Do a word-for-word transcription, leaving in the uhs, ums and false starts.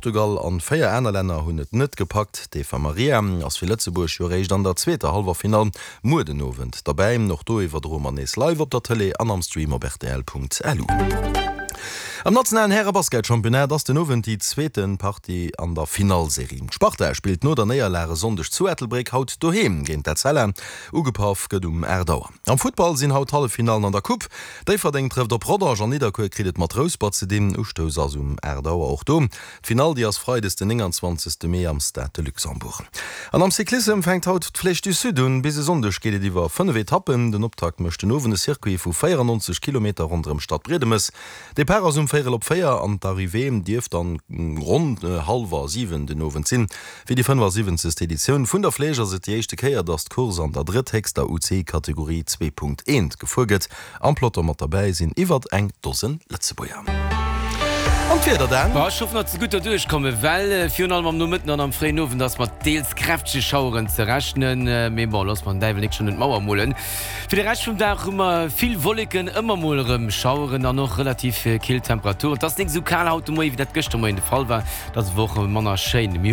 Portugal an véier aner Länner hunn et net gepackt. D'Eva Maria ass fir Lëtzebuerg jo réischt an der zweeter Hallwerfinall muer den Owend derbäi. Och do iwwerdroe mer nees live op der Tëlee an am Stream op rtl.lu. Am nationalen Häre-Basketchampionnat ass den Owend déi zweete Partie an der Finallserie. D'Sparta spillt no der Néierlag e Sonndeg zu Ettelbréck haut doheem géint d'Etzella. Ugepaff gëtt um aacht Auer. Am Futtball sinn haut d'Halleffinallen an der Coupe. Déifferdeng trëfft op Rodange an Nidderkuer kritt et mat Rouspert ze dinn. Ustouss ass um aacht Auer och do. D'Finall déi ass freides den nénganzwanzegste Mee am Stade de Luxembourg. An am Cyclissem fänkt haut d'Flèche du Sud un. Bis e Sonndeg geet et iwwer fënnef Etappen. Den Optakt mécht den Owend e Circuit vu véierannonzeg Kilometer ronderëm Stadbriedemes. Depart ass um véierel op véier an d'Arrivée dierft dann ronn hallwer siwen den Owend sinn. Fir déi fënnefasiwwenzegst Editioun vun der Flèche ass et déi éischte Kéier, datt d'Course an der drëtthéchster U C I-Kategorie zwee Punkt eent gefuer gëtt. Am Peloton mat derbäi sinn iwwert eng Dosen Lëtzebuerger. An d'Wieder dann? Ech hoffen, datt se gutt derduerch kommen, well virun allem am Nomëtten an am fréien Owend ass mat deels kräftege Schaueren ze rechnen. Mee bon, loosse mer den Däiwel nik schonn un d'Mauer molen. Fir de Rescht vum Dag hu mer vill Wolleken, ëmmer mol erëm Schaueren an och relativ kill Temperaturen. Et ass nik esou kal haut de Moie wéi dat gëschter Moien de Fall war, et ass awer och manner schéin. Mir.